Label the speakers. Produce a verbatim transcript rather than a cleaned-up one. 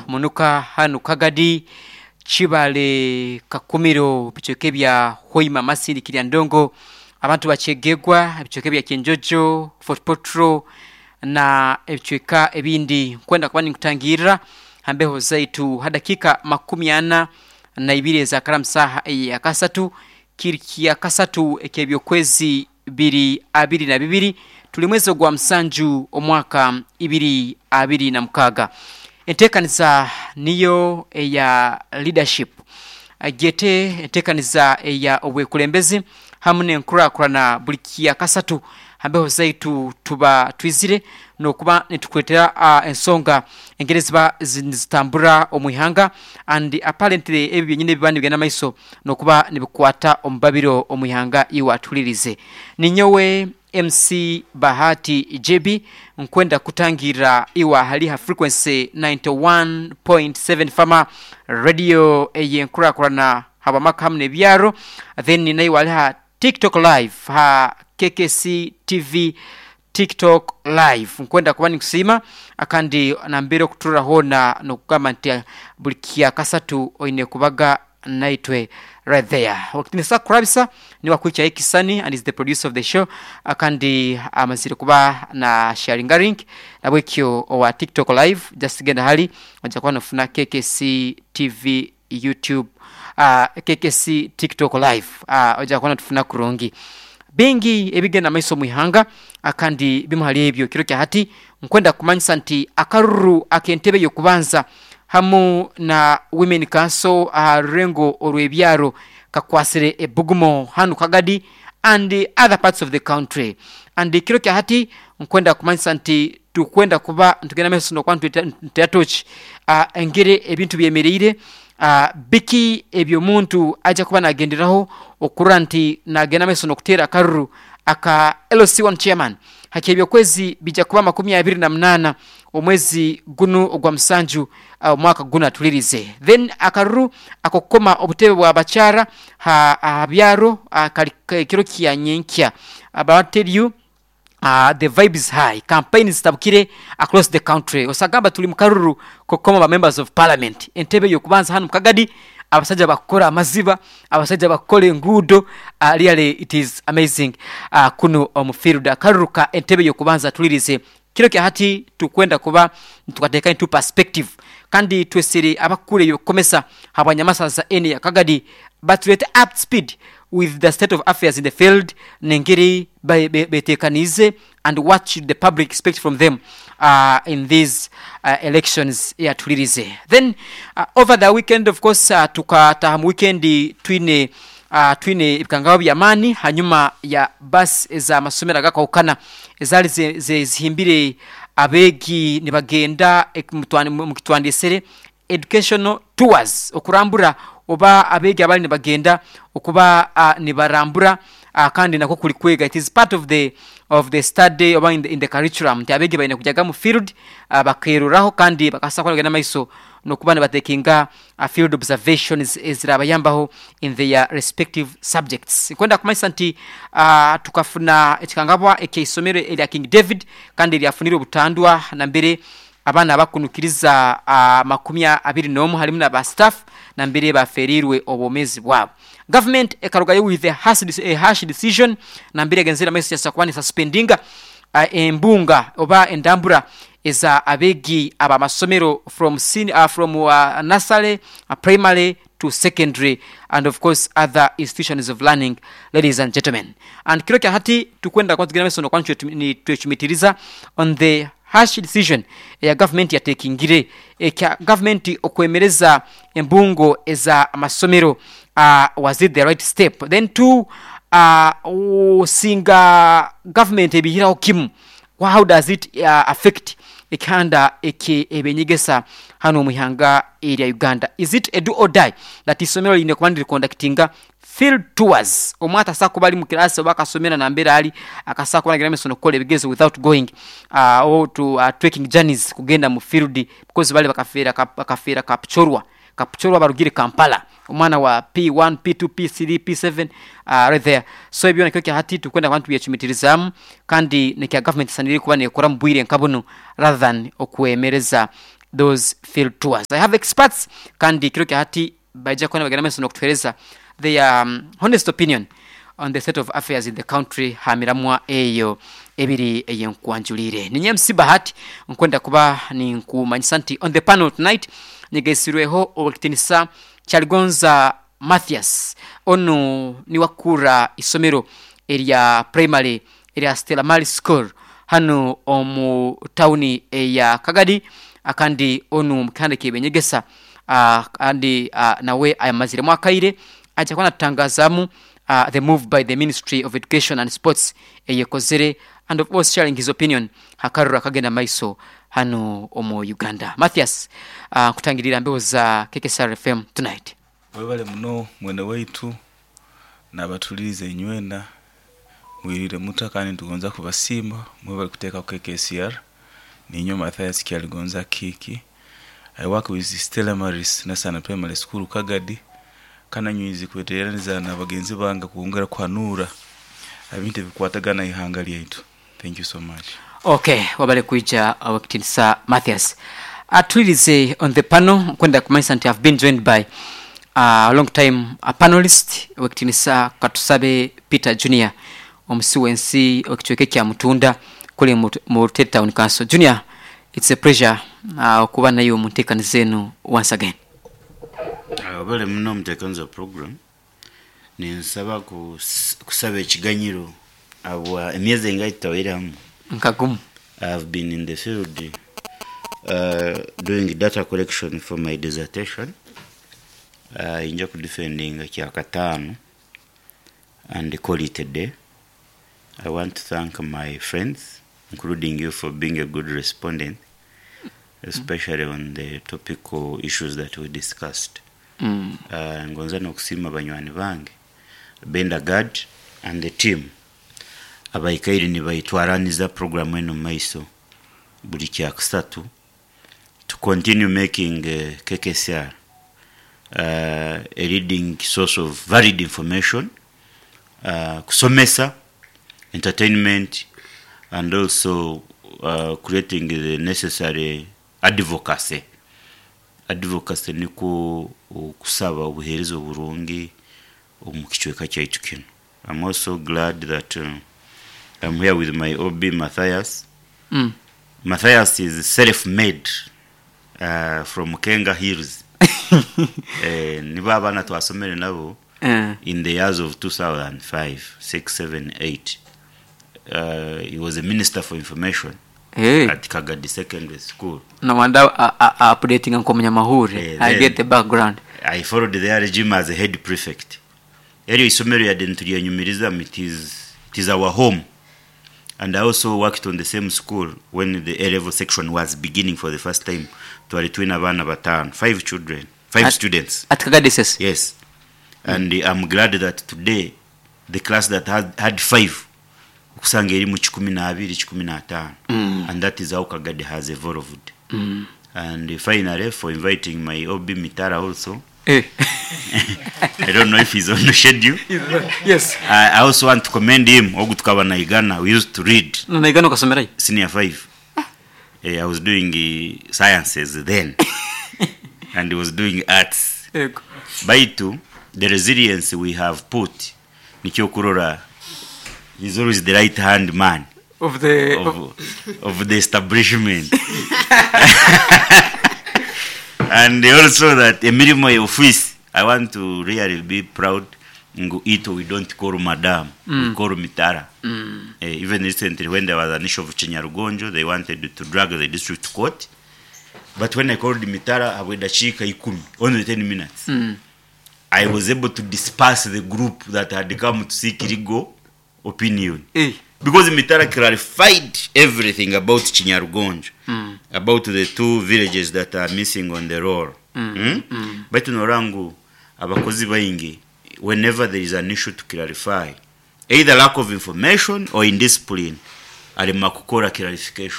Speaker 1: Munuka hanu Kagadi, Kibale, Kakumiro, bicweka ebya Hoima, Masindi, Kiryandongo, abantu bakyegegwa ebicweka ebya Kyenjojo, Fort Portal na ebicweka ebindi. Nkwenda kuba ninkutangirra ha mbeho zaitu ha dakiika makumi ana na ibiri ezakara mu saaha eyakasatu, kiri kyakasatu eky'ebyokwezi biri abiri na bibiri, tuli mwezi ogwa musanju omwaka ibiri abiri na mukaaga. Enteekaniza niyo eya leadership, gyete enteekaniza eya obwekulembezi hamu n'enkurakurana. Buli kyakasatu ha mbeho zaitu tuba twizire n'okuba nitukuleetera uh, ensonga engeri ziba nizitambura omu ihanga, and apparently ebi byenyini ebiba nibigenda maiso n'okuba nibikwata omu babiro omu ihanga. Iwe atuhulirize, ninyowe M C Bahati J B, nkwenda kutangirra iwe hali ha frequency ninety-one point seven Fama Radio ey'enkurakurana habwamaka hamu n'ebyaro. Then naiwe ali ha TikTok Live, ha K K C T V TikTok Live, nkwenda kuba ninkusiima akandi nambere okuturra hoona n'okugamba nti buli kyakasatu oine kubaga naitwe right there. Nisa kurabisa niwe akwikyayo ekisani and is the producer of the show, kandi amazire kuba na sharinga link nabwekyo owa TikTok Live, just genda hali ojja kuba nofuna K K C T V YouTube, uh, K K C TikTok Live, uh, ojja kuba notufuna kurungi. Bingi ebigenda maiso mu ihanga, kandi bimu hali ebyo kiro kya hati nkwenda kumanyisa nti akaruru ak'entebe y'okubanza hamu na women council aha rurengo orw'ebyaro kakwasire ebugumo hanu Kagadi and other parts of the country. And kiro kya hati nkwenda kumanyisa nti tukwenda kuba ntugenda maiso nokuba ntutera tochi uh, engeri ebintu byemereire, uh, biki ebyomuntu ajja kuba nagenderaho okurora nti nagenda maiso n'okuteera akaruru aka L C one chairman haki. Ebyokwezi bijja kuba makumi abiri na munaana omwezi gunu ogwa musanju omwaka guno atulirize. Then akaruru akokukoma obutebe bwa bakyara ha, ha byaro uh, kali kiro kya nyenkya. About tell you, uh, the vibe is high, campaigns zitabukire across the country. Osagamba tuli mukaruru kokoma ba members of parliament, entebe yokubanza hanu mukagadi, abasajja bakukora amaziba, abasajja bakukora enguudo. uh, really it is amazing. uh, kuno omu field, akaruru ka entebe yokubanza tulirize kiro kya hati tukwenda kuba tukateeka into perspective, kandi twesere abakuru ebyokukomesa habwanyamasaza ene ya Kagadi batulete up speed with the state of affairs in the field nengeri betekanize and what should the public expect from them uh, in these uh, elections yatulirize. Then uh, over the weekend, of course, uh, tukataha mu weekend twine uh, twine ebikangabo by'amaani hanyuma ya bus ez'amasomero agakahukana ezaali zihimbire abeegi nibagenda mukitwandisere educational tours, okurambura oba abeegi abali nibagenda okuba uh, nibarambura, uh, kandi nako kuli kwega. It is part of the of the study oba in the, in the curriculum nti abeegi balina kujaga mu field, uh, bakeruraho kandi bakasa kuba maiso nokuba nibatekinga uh, field observations ezirabayambaho in their respective subjects. Nkwenda kumanyisa nti uh, tukafuna ekikangabwa ekyeisomero erya King David kandi lyafunire obutandwa nambere abaana bakunukiriza uh, makumi abiri n'omu halimu naba staff nambere baferirwe obwomezi bwabo. Government ekarugayo with a harsh, a harsh decision nambere egenzera maiso yasa kuba suspendinga uh, embunga oba endambura eza abeegi abamasomero from, sen, uh, from uh, nursery, uh, primary to secondary and of course other institutions of learning, ladies and gentlemen. And kiro kya hati tukwenda kwa tugenda maiso nokuba twechumitiriza on the harsh decision eya government yatekingire ekya government okwemereza embungo eza amasomero. uh, was it the right step? Then two, uh, singa government ebihiraho kimu, how does it uh, affect ekihanda eki ebenyegesa hano omu ihanga erya Uganda? Is it a do or die that isomero line kuba niriconductinga field tours? Omwata asa kuba ali mu kirasi oba akasomera nambere ali akasa kuba nagira misono kukola ebigezo without going uh, or to uh, trekking journeys kugenda mu field, because bali bakafera bakafera kapchorwa kapchorwa barugire Kampala, omwana wa P one, P two, P three, P seven, uh, right there. So ebyo nakyo hati tukwenda abantu byechumitirizamu kandi nekya government sanire kuba nekora mu bwire nka buno rather than okwemereza. those field tours. I have experts kandi kiro kya hati baija kuba nibagenda maiso n'okutuheereza their um, honest opinion on the state of affairs in the country hamiramwa eyo ebiri eyenkwanjulire. Ninye M C Bahati, nkwenda kuba ninkumanyisa nti on the panel tonight nyigesirweho owekitinisa Kyaligonza Mathias, onu niwakura isomero erya primary erya Stella Maris School hano omu tawuni eya Kagadi, akandi onu mukihanda kebenyegesa, uh, kandi uh, nawe ayamaziremu akaire aja kuba natutangazamu uh, the move by the Ministry of Education and Sports eyekozere, and of course sharing his opinion hakarura kagenda maiso hano omu Uganda. Mathias, uh, kutangirira mbeho za K K S R F M tonight.
Speaker 2: Webale muno mwene waitu nabatuliriza enywena, mwirire muta, kandi ntugonza kubasiima mwebale kuteeka ku K K S R. Ninyo Mathias Kyaligonza Kiki. I work with Stella Maris National Primary School Kagadi, kananywizi kweteraniza na bagenzi bange kuongera kuhanura ebintu ebikwatagana ihanga lyaitu. Thank you so much.
Speaker 1: Okay, wabale kuija awakitinisa Mathias. Atulirize, on the panel kwenda kumanyisa nti I've been joined by a long time a panelist, owekitinisa Katusabe Peter Junior, omusi w'ensi okicweka kya Mutunda kuli mu mu Rutete Town Council. Junior, it's a pleasure uh, okuba nayo mu nteekaniza eno once again.
Speaker 3: Webale muno omuteekaniza program. Ninsaba kus- kusaba ekiganyiro abwa emyezi engahi tutaweramu.
Speaker 1: Nkagumu.
Speaker 3: I've been in the field uh, doing data collection for my dissertation. uh, inja kudefendinga kyakataano and call it a day. I want to thank my friends, including you, for being a good respondent, especially on the topical issues that we discussed.
Speaker 1: mm.
Speaker 3: uh, ngonza n'okusiima banywani bange Benda Gad and the team abaikaire nibaitwaraniza program eno mu maiso buli kyakusatu to continue making uh, K K S R uh, a leading source of varied information, uh, kusomesa, entertainment and also uh, creating the necessary advocacy. Advocacy niko okusaba obuheereza oburungi omu kicweka kyaitu kino. I'm also glad that uh, I'm here with my O B Matthias.
Speaker 1: Mm.
Speaker 3: Matthias is self-made uh, from Kenga Hills. eh, nibo abaana twasomere nabo
Speaker 1: Eh.
Speaker 3: in the years of two thousand five, six, seven, eight. Uh, he was a minister for information
Speaker 1: Hey.
Speaker 3: at Kagadi Secondary School.
Speaker 1: No wonder uh, uh, updating nkomunyamahuri.
Speaker 3: Eh,
Speaker 1: I
Speaker 3: then-
Speaker 1: get the background.
Speaker 3: I followed their regime as a head prefect. Eryo isomero yadde nitulyanyumirizamu, it is, it is our home. And I also worked on the same school when the A level section was beginning for the first time. Twali twina abaana bataano, five children, five
Speaker 1: At-
Speaker 3: students.
Speaker 1: At Kagadi S S.
Speaker 3: Yes. And uh, I'm glad that today the class that had, had five okusanga eri mu kikumi n'abiri, kikumi n'ataano.
Speaker 1: Mm.
Speaker 3: And that is how Kagadi has evolved.
Speaker 1: Mm.
Speaker 3: And uh, finally, for inviting my O B Mitara also.
Speaker 1: Eh.
Speaker 3: I don't know if he's on the schedule.
Speaker 1: Yes.
Speaker 3: I, I also want to commend him. Ogu tukaba naigana, we used to read
Speaker 1: Naigana ukasomerayo?
Speaker 3: Senior five. Eh, I was doing uh, sciences then, and he was doing arts.
Speaker 1: Yego.
Speaker 3: Baitu, the resilience we have put, nikyo kurora, he's always the right hand man
Speaker 1: of the
Speaker 3: of, of the establishment. And also that emirimo ya office, I want to really be proud ngu ito we don't call madam, mm. we call Mitara.
Speaker 1: Mm.
Speaker 3: Eh, even recently when there was an issue of Chinyarugonjo, they wanted to drag the district court. But when I called Mitara, habwe dakika ikumi, only ten minutes.
Speaker 1: Mm.
Speaker 3: I was able to disperse the group that had come to seek legal opinion.
Speaker 1: Eh.
Speaker 3: Because Mitara clarified everything about Chinyarugonjo,
Speaker 1: Mm.
Speaker 3: about the two villages that are missing on the roll. Mm. Mm. Baitu norangu abakozi baingi, whenever there is an issue to clarify, either lack of information or indiscipline, alema kukora clarification.